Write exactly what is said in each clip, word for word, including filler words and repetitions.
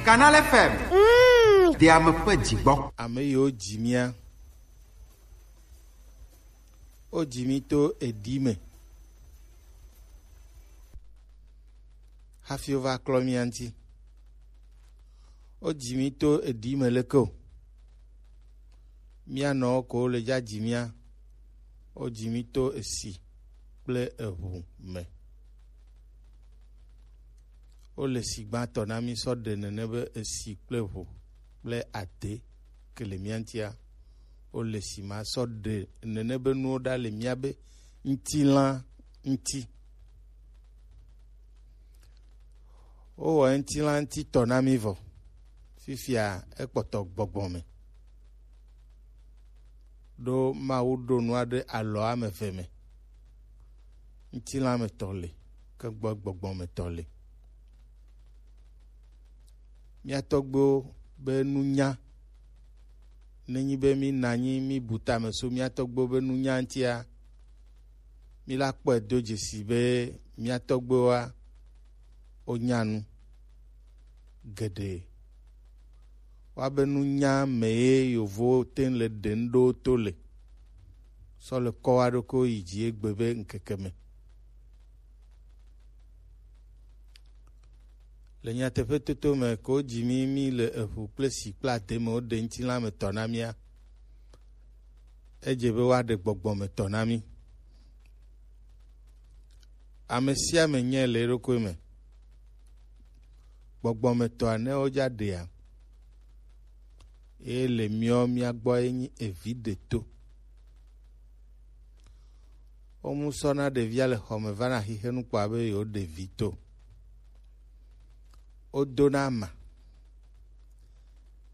Canal F M. Mm. De ame ƒe dzigbɔ. Ame yiwo dzi mía, wodzi mí to eɖi me hafi wova klɔ mía ŋuti. Wodzi mí to eɖi me leke o. Mía nɔwo ko le dza dzi mía. Wodzi mí to esi kple eʋu me. Wole si gbãtɔ na mí sɔ ɖe nene be esi kple ʋu kple ade ke le mía ŋutia. Wole si ma sɔ ɖe nene be nuwo ɖa le mía be ŋutilã ŋuti. Wowɔ ŋutilã ŋuti tɔ na mí vɔ. Fifia ekpɔtɔ gbɔgbɔ me. Ɖo Mawu ɖo nua ɖe alɔ ame eve me. Ŋutilã me tɔ le, ke gbɔ gbɔgbɔ me tɔ le. Mía tɔgbuiwo be nunya, nenyi be mí na anyi mí bu tame so mía tɔgbuiwo be nunya ŋutia, mí la kpɔe do dzesi be mía tɔgbuiwoa, wonya nu geɖe. Woabe nunya me ye yovowo te le ɖe nu ɖo to le. Sɔ le kɔ wa ɖokui yi dzi egbe be ŋkeke me. Le nyateƒe toto me ko dzi mí, mí le eʋu kple si kple ade me woɖe ŋutilã me tɔ na mía. Edze be woaɖe gbɔgbɔ me tɔ na mí. Ame sia ame nyae le eɖokui me. Gbɔgbɔmetɔa ne wodza ɖea, eye le miɔ mia gbɔ ye nyi evi ɖeto. Womu sɔna ɖevia le xɔme vana xixenu kpɔa be yewoɖe vi to. Wodona ama.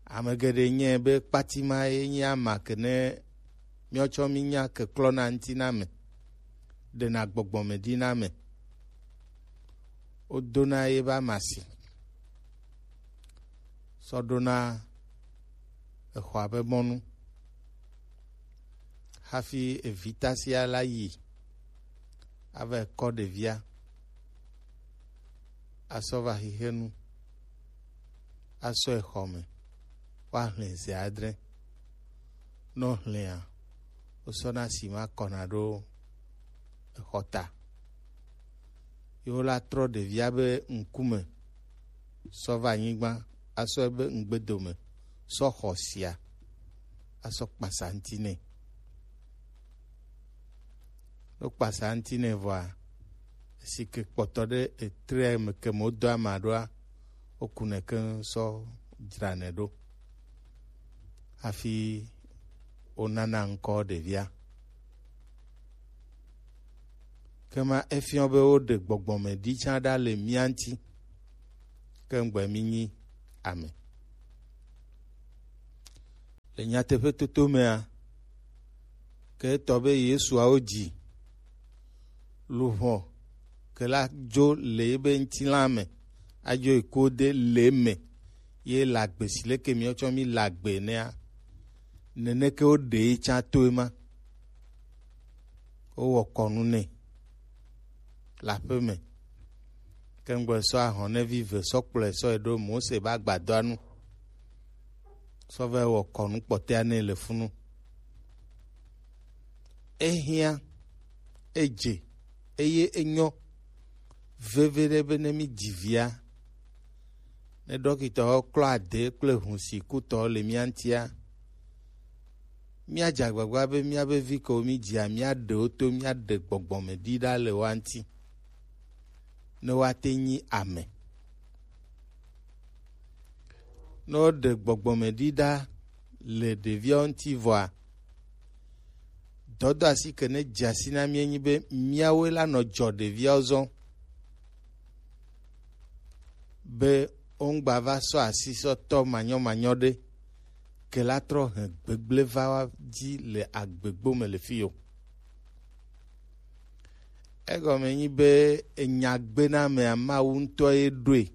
Ame geɖe nyae be kpatima ye nyi ama ke ne míawo tsɔ mínya keklɔna ŋuti na ame, ɖena gbɔgbɔme ɖi na ame. Wodona ye be amasi sɔ ɖona exɔa be mɔnu hafi evita sia la yi ava kɔ ɖevia asɔ va xixenu asɔe xɔ me woaxlẽ zi adre. Ne woxlẽa, wosɔna si ma kɔna ɖo exɔta. Ye wola trɔ ɖevia be ŋkume sɔ va anyigba, asɔ ebe ŋgbedome sɔ xɔ sia, asɔ kpasa ŋuti nɛ. Ne wokpasa ŋuti nɛ vɔa, esi ke kpɔtɔ ɖe etre me ke me wodo ama ɖoa, wokunɛ keŋ sɔ dzranɛ ɖo hafi wonana ŋkɔ ɖevia. Kema efiɔ be woɖe gbɔgbɔme ɖi tsã ɖa le mía ŋuti, ke ŋgbe mí nyi ame. Le nyateƒe toto mea, ke etɔ be Yesuawo dzi luʋɔ ke la dzo le ebe ŋutilã me, adzo yi ku de le me, ye le agbe si leke míawo tsɔ mí le agbe enea, neneke woɖe ye tsã to ema. Wowɔ kɔnu nɛ le aƒe me. Ke ŋgbe sɔ ahɔnɛvi ve sɔ kplɔe sɔ yi ɖo Mose be agbadɔa nu, sɔ va wɔ kɔnu kpɔtɔea nɛ le funu. Ehiã, edze, eye enyɔ veviɖe be ne mí dzi via, ne ɖɔkitɔwo klɔ ade kple ʋu si kutɔwo le mía ŋutia, míadze agbagba be míabe vi kewo mídzia, míaɖe wo to, míaɖe gbɔgbɔme ɖi ɖa le woa ŋuti, ne woate nyi ame. Ne woɖe gbɔgbɔme ɖi ɖa le ɖeviawo ŋuti vɔa, dɔdɔasi ke ne dze asi na mí enyi be míawoe la nɔ dzɔ ɖeviawo zɔ, be woŋgba va sɔ asi sɔ tɔ manyɔmanyɔ ɖe, ke la trɔ he gbegblẽ va wa dzi le agbegbo me le fi yo. Egɔme nyi be enya gbenamea Mawu ŋutɔ ye ɖoe,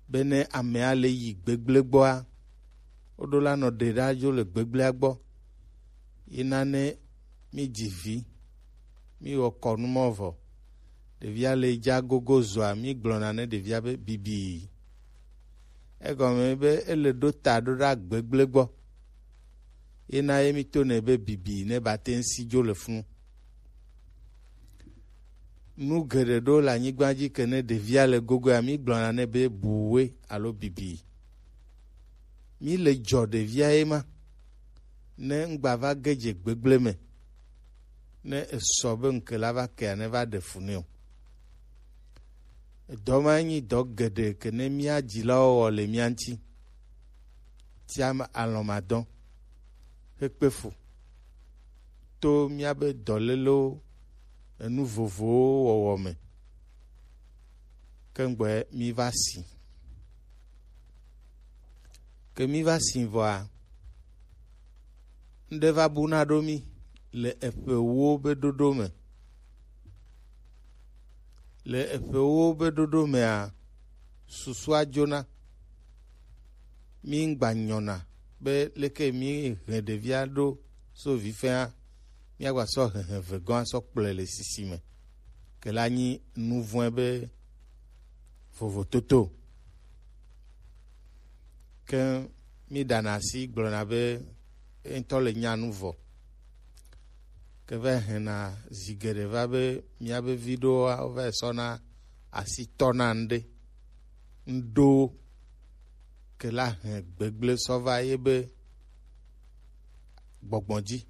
be ne amea le yi gbegblẽ gbɔa, woɖo la nɔ ɖe ɖa dzo le gbegblẽa gbɔ. Yina ne mí dzi vi, mí wɔ kɔnu mɔ vɔ, ɖevia le dza gogo zɔa, mí gblɔna ne ɖevia be bibii. Egɔme be ele ɖo ta ɖo ɖa gbegble gbɔ. Ye na ye mi to nɛ be bibi ne ba te ŋ si dzo le funu. Nu geɖe ɖo le anyigba dzi ke ne ɖevia le gogoa, mi gblɔna nɛ be buwe alo bibi. Mi le dzɔ ɖevia ye ma. Ne ŋgba va ge dze gbegble me, ne esɔ be ŋke la va kea, ne va ɖe fu nɛ o. Edɔ ma nyi dɔ geɖe ke ne mía dzilawo wɔ le mía ŋuti. Tia alɔmadɔ hekpe fu to míabe dɔlélewo, enu vovowo wɔwɔ me. Ke ŋgbɔe mí va si. Ke mí va si vɔa, ŋɖe va buna ɖo mí le eƒe wo be ɖoɖo me. Le eƒe wo be ɖoɖo mea, susua dzona. Mí ŋgba nyɔna be leke mí hɛn ɖevia ɖo so vifɛa, míagba sɔ hehe ve gɔ̃ asɔ kplɔe le sisi me. Ke la nyi nuvɔ̃e be vovototo. Ke mí ɖana asi gblɔna be eŋutɔ le nya nu vɔ. Ke va hɛna zi geɖe va be míabe vi ɖowoa, wova yi sɔna asi tɔna ŋɖe, ŋɖowo ke la hɛn gbegble sɔ va ye be gbɔgbɔ dzi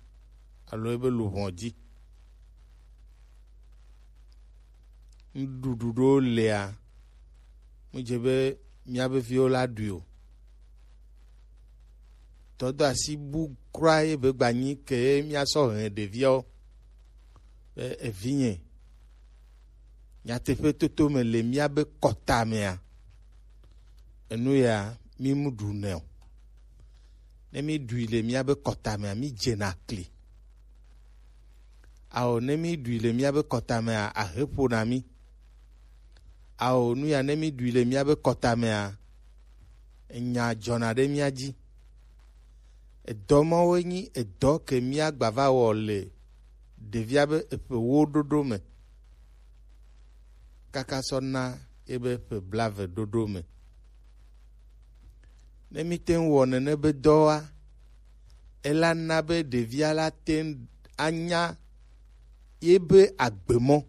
alo ye be luʋɔ dzi. Nuɖuɖu ɖewo lia, mu dze be míabe viwo la ɖui o. Dɔdɔ asi bu kura ye be gbanyi ke ye míasɔ hɛn ɖeviawo. Be evinye, nyateƒe toto me le míabe kɔta mea, enu ya mí mu ɖu nɛ o. Ne mí ɖui le míabe kɔta mea, mí dzena kli. Ao, ne mí ɖui le míabe kɔta mea, ahe ƒona mí. Ao, nu ya ne mí ɖui le míabe kɔta mea, enya dzɔna ɖe mía dzi. Edɔ mawoe nyi edɔ ke míagba va wɔ le ɖevia be eƒe wo ɖoɖo me, kaka sɔ na ebe ƒe blaeve ɖoɖo me. Ne mí te ŋu wɔ nene be dɔwoa, ela na be ɖevia la te ŋu anya ye be agbemɔ.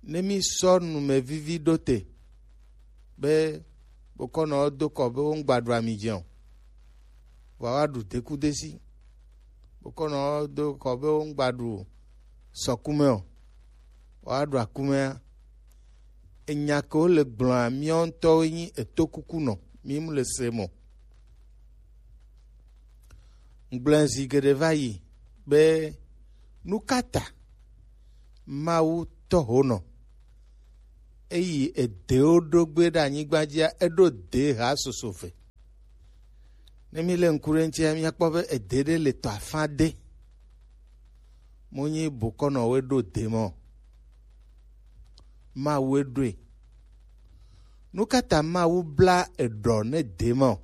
Ne mí sɔ numevivi ɖo te be bokɔnɔwo do kɔ be wo ŋgba ɖu ami dze o, vɔa woaɖu dekudesi. Bokɔnɔwo do kɔ be wo ŋgba ɖu sɔkume o, woaɖu akumea. Enya ke wole gblɔa, míawo ŋutɔwoe nyi etokukunɔ, mí mu le se mɔ. Ŋgblɔe zi geɖe va yi be, nu ka ta Mawu tɔ ho nɔ eyi edewo ɖo gbe ɖe anyigba dzia, eɖo de ha soso ve? Ne mí le ŋku ɖe ŋutia, míakpɔ be ede ɖe le tɔ afã de. Mo nyi bokɔnɔwoe ɖo de mɔ. Mawue ɖoe. Nu ka ta Mawu bla eɖɔ ne de mɔ?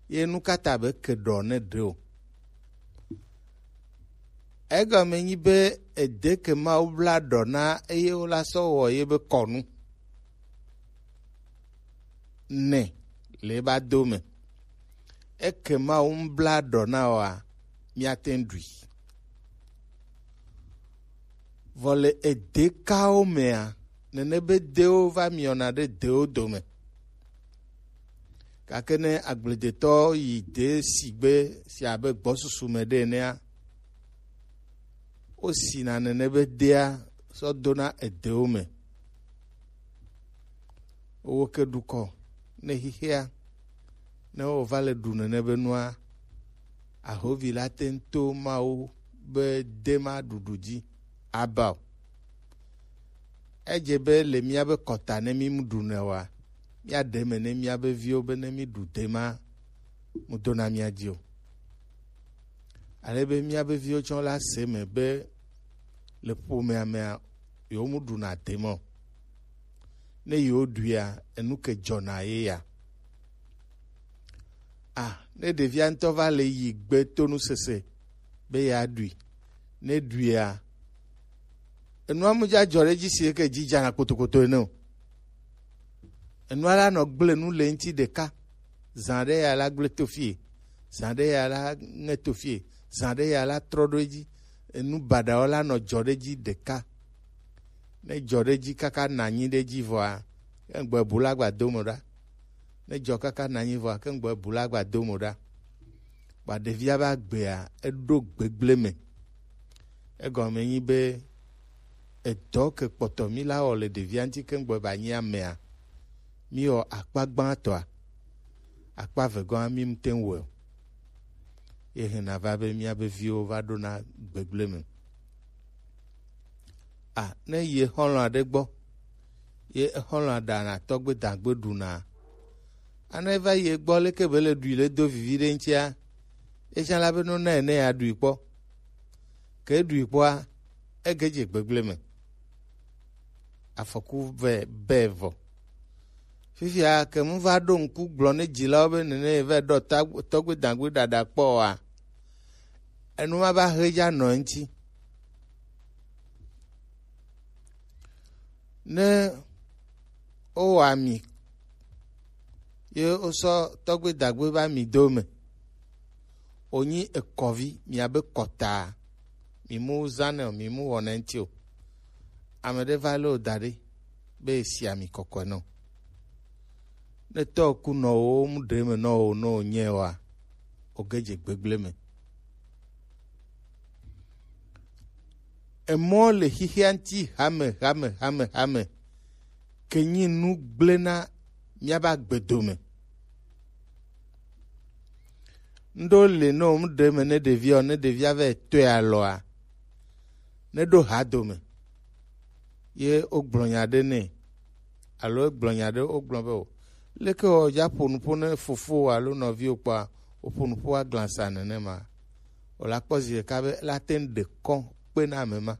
Ye nu ka ta be ke ɖɔ ne ɖe o? Egɔme nyi be ede ke Mawu bla ɖɔ na eye wola sɔ wɔ ye be kɔnu. Nɛ le ba do me. Eke Mawu ŋu bla ɖɔ na wɔa, míate ŋu ɖui. Vɔ le ede kawo mea, nene be dewo va miɔna ɖe dewo dome. Gake ne agbledetɔ yi de sigbe si abe gbɔsusu me ɖe enea, wosina nene be dea sɔ dona edewo me. Wo ke ɖu kɔ ne xixea, ne wova le ɖu nene be nua, ahovi la te ŋu to Mawu be de ma ɖuɖu dzi aba o. Edze be le míabe kɔta ne mí ɖu nɛ oa, míaɖe eme ne míabe viwo be ne mí ɖu de ma mu do na mía dzi o. Ale be míabe viwo tsɔ la se eme be le ƒomea mea, yewo mu ɖuna de ma o. Ne yewo ɖuia, enu ke dzɔna ye ya. A, ne ɖevia ŋutɔ va le yi gbe to nusese be yeaɖui, ne ɖuia, enua mu dza dzɔ ɖe edzi si eke dzi dzana kpotokoto ene o. Enua la nɔ gble nu le ŋuti ɖeka. Zã ɖe ya la gble to fie, zã ɖe ya la ŋe to fie, zã ɖe ya la trɔ ɖo edzi. Enu baɖawo la nɔ dzɔ ɖe edzi ɖeka. Ne dzɔ ɖe edzi kaka na anyi ɖe edzi vɔa, ke ŋgbɔ bu la gba do mo ɖa. Ne dzɔ kaka na anyi vɔa, ke ŋgbɔ bu la gba do mo ɖa. Kpa ɖevia va gbea, eɖo gbegble me. Egɔme nyi be edɔ ke kpɔtɔ mi la wɔ le ɖevia ŋuti ke ŋgbɔ ba nyi amea, mi wɔ akpa gbãtɔa, akpa vegɔa mi ŋute ŋu wɔ o. Ye hena va be mía be viwo va ɖo na gbegble me. A, ne yi exɔlɔ̃ aɖe gbɔ, ye exɔlɔ̃ aɖa na tɔgbe dagbe ɖuna. Ana eva yi egbɔ leke be le ɖui le do vivi ɖe ŋutia, etsã la be no na ene ya ɖui kpɔ. Ke ɖui kpɔa, ege dze gbegble me. Afɔku vɛ bɛ vɔ. Fifia ke mu va ɖo ŋku gblɔ ne dzilawo be nene ye va ɖɔ tɔgbe dagbe ɖaɖa kpɔ oa, enu ma va he dza nɔ eŋuti. Ne wowɔ ami ye wosɔ tɔgbe dagbe va mi do me, wonyi ekɔvi, miabe kɔta, mi mu zanɛ o, mi mu wɔnɛ ŋuti o. Ame ɖe va le wo da ɖe be esi ami kɔkɔe nɔ. Ne tɔ ku nɔ wo mu ɖe me nɔ wo nɔ wo nyɛ wa, o ge dze gbegble me. Emɔ le xixia ŋuti hame hame hame hame ke nyi nu gblẽ na míabe agbedome. Ŋɖo le ne wo mu ɖe me ne ɖevia o, ne ɖevia va tɔe alɔa, ne ɖo ha dome ye wogblɔ nya ɖe nɛ, alo egblɔ nya ɖe wogblɔ be o, leke wɔ dza ƒo nuƒo ne fofo alo nɔviwo kpɔa, woƒo nuƒo aglansa nenema. O la kpɔ zi ɖeka be la te ŋu ɖe kɔ kpe na ame ma.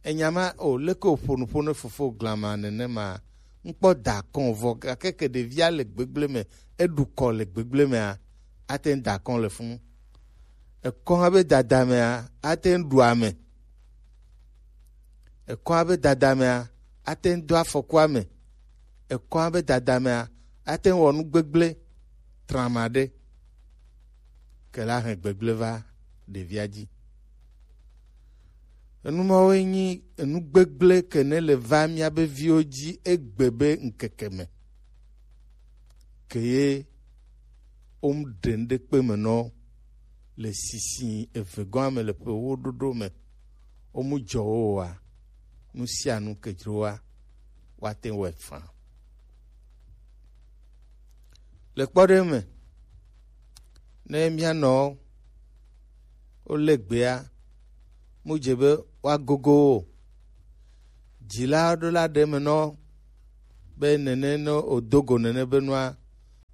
Enya ma o, leke wòƒo nuƒo ne fofo glama nenema? Ŋkpɔ da kɔn vɔ gake ke ɖevia le gbegble me, eɖu kɔ le gbegble mea, ate ŋu da kɔn le funu. Ekɔ hã be dada mea, ate ŋu ɖu ame. Ekɔ hã be dada mea, ate ŋu do afɔku ame. Ekɔ hã be dada mea, ate ŋu wɔ nu gbegble trama ɖe. Ke la hɛn gbegble va ɖevia dzi. Enu mawoe nyi enu gbegble ke ne le va míabe viwo dzi egbe be ŋkeke me. Ke ye wo mu ɖe ŋɖekpe me nɔ le sisi eve gɔ̃a me le ƒe wo ɖoɖo me. Wo mu dzɔ wo oa, nu sia nu ke dzro wa, woate ŋu wɔe faa. Le kpɔɖeŋu me, ne mía nɔwo wolé gbea, mu dze be woagogo wo o. Dzila ɖo la ɖe eme nɔ be nene ne wòdo go nene be nua,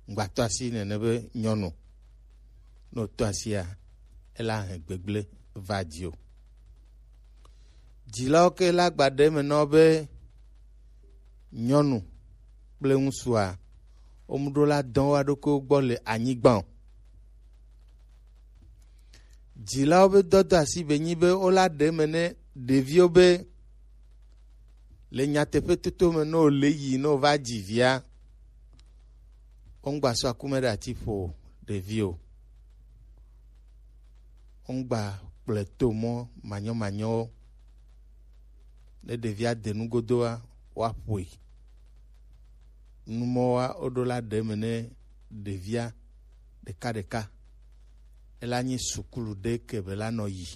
ŋgbatɔ asi nene be nyɔnu. Ne wòtɔ asia, ela hɛn gbegblẽ va dziwò. Dzilawo ke la gba ɖe eme nɔ be nyɔnu kple ŋutsua, womuɖo la dɔ wo ɖokuiwo gbɔ le anyigba o. Dzilawo be dɔdɔ asi be nyi be wola ɖe eme ne ɖeviwo be le nyateƒe toto me ne wòle yi ne wòva dzi via, womgba sɔ akume ɖe ati ƒo ɖevi o. Womgba kplɔe to mɔ manyɔmanyɔwo. Ne ɖevia de nugodoa, woaƒoe. Numɔwoa, woɖo la ɖe eme ne ɖevia ɖekaɖeka. Ela nyi sukulu ɖe ke be la nɔ yi.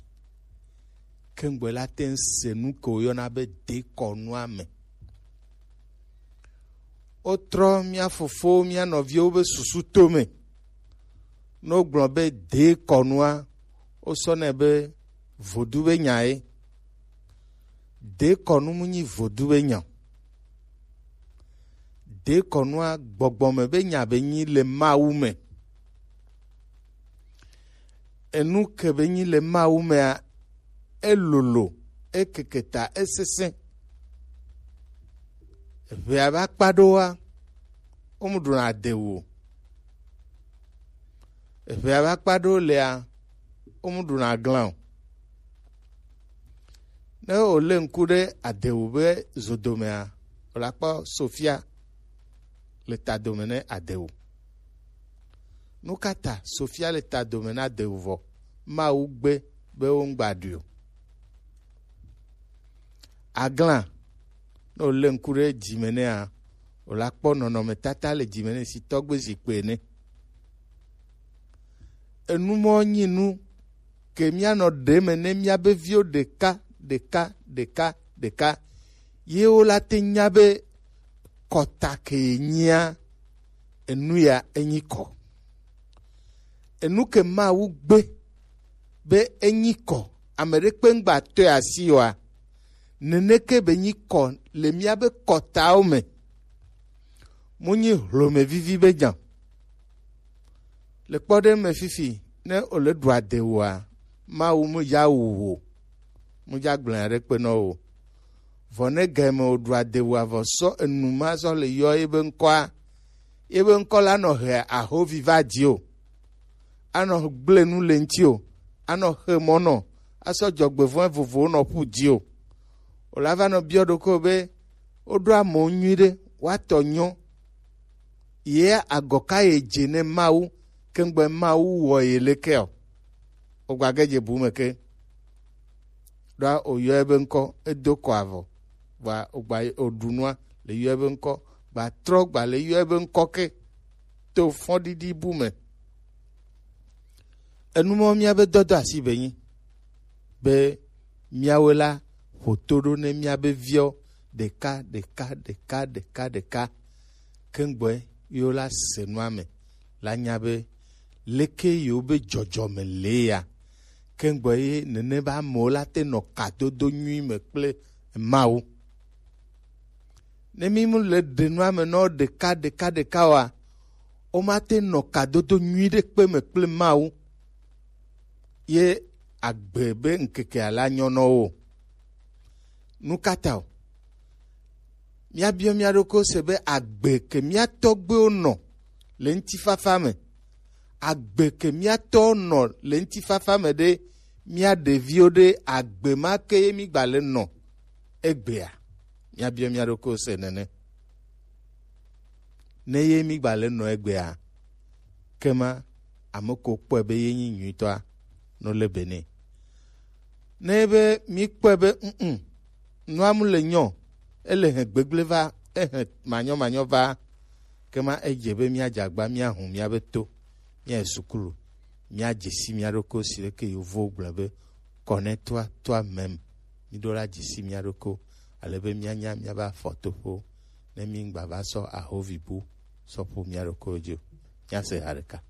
Ke ŋgbɔ la te ŋu se nu ke woyɔna be dekɔnua me. Wotrɔ mía fofowo, mía nɔviwo be susu tome. Ne wogblɔ be dekɔnua, wosɔnɛ be vodu be nya ye. Dekɔnu mu nyi vodu be nya o. Dekɔnua gbɔgbɔme be nya be nyi le Mawu me. Enu ke be nyi le Mawu mea, elolo, ekeke ta, esesẽ. Eʋea be akpa ɖewoa, womeɖuna adewu o. Eʋea be akpa ɖewo lea, womeɖuna aglã o. Ne wòlé ŋku ɖe adewu be zodomea, wòle akpɔ Sofia. le ta dome ne adewu. Nu ka ta Sofia le ta dome na adewu vɔ? Mawu gbe be wo ŋgba ɖui o. Agla, ne wòlé ŋku ɖe dzi me nɛa, wòla kpɔ nɔnɔmetata le dzi me nɛ si tɔgbe zikpui ene. Enu mɔ nyi nu ke míanɔ ɖe me ne míabe viwo ɖeka ɖeka ɖeka ɖeka, ye wola te nya be kɔta ke nyia enu ya enyi kɔ. Enu ke Mawu gbe be enyi kɔ, ame ɖekpe ŋgba tɔe asi oa, neneke be nyi kɔ le míabe kɔtawo me. Mu nyi hlome vivi be nya. Le kpɔɖeŋu me fifi, ne wòle ɖu adewu oa, Mawu mu ya wu o, mu ya gblẽ aɖe kpe nɔ o. Vɔ ne gɛme wòɖu adewu avɔ sɔ enu ma sɔ le yɔ ebe ŋkɔa, ebe ŋkɔ la nɔ he ahovi va dzi o, anɔ gblẽ nu le ŋuti o, anɔ xe mɔ nɔ, asɔ dzɔgbevɔ̃e vovowo nɔ ƒu dzi o. Wòla va nɔ biɔ ɖokɔ be woɖo amewo nyuiɖe, woatɔ nyɔ. Ye agɔ ka ye dze ne Mawu, kengbe Mawu wɔ ye leke o? Wògba ge dze bu me ke. Ɖoa wòyɔe be ŋkɔ, edo kɔ avɔ, vɔa wògba wòɖu nua le yɔe be ŋkɔ, gba trɔ gba le yɔe be ŋkɔ ke to fɔɖiɖi bu me. Enu mɔ míabe dɔdɔ asi be nyi be míawoe la ƒo to ɖo ne míabe viawo ɖeka ɖeka ɖeka ɖeka ɖeka. Kengbe yewo la se nua me la nya be leke yewo be dzɔdzɔme le ya. Kengbe ye nene be amewo la te nɔ kadodo nyui me kple Mawu. Ne mí mu le ɖe nua me nɔ ɖeka ɖeka ɖeka oa, womate nɔ kadodo nyui ɖe kpe me kple Mawu. Ye agbe be ŋkeke la nyɔ nɔ wo. Nu ka ta o? Míabiɔ mía ɖokui se be agbe ke mía tɔgbuiwo nɔ le ŋutifafa me, agbe ke mía tɔwo nɔ le ŋutifafa me ɖe, mía ɖeviwo ɖe, agbe ma ke ye mí gba le nɔ egbea? Míabiɔ mía ɖokuiwo se nene. Ne ye mí gba le nɔ egbea, kema ame ko kpɔe be ye nyi nyuitɔa, no le be nɛ. Ne be mí kpɔe be, mm, nua mu le nyɔ, ele he gbegble va, ehe manyɔ manyɔ va, kema edze be míadze agba, míahu míabe to, míayi sukulu, míadze si mía ɖokuiwo si leke yovowo gblɔ be, connais-toi toi-même. Míɖo la dze si mía ɖokuiwo, ale be míanya míabe afɔtoƒewo, ne míŋgba va sɔ ahovi bu sɔ ƒu mía ɖokuiwo dzi o. Míase ha ɖeka.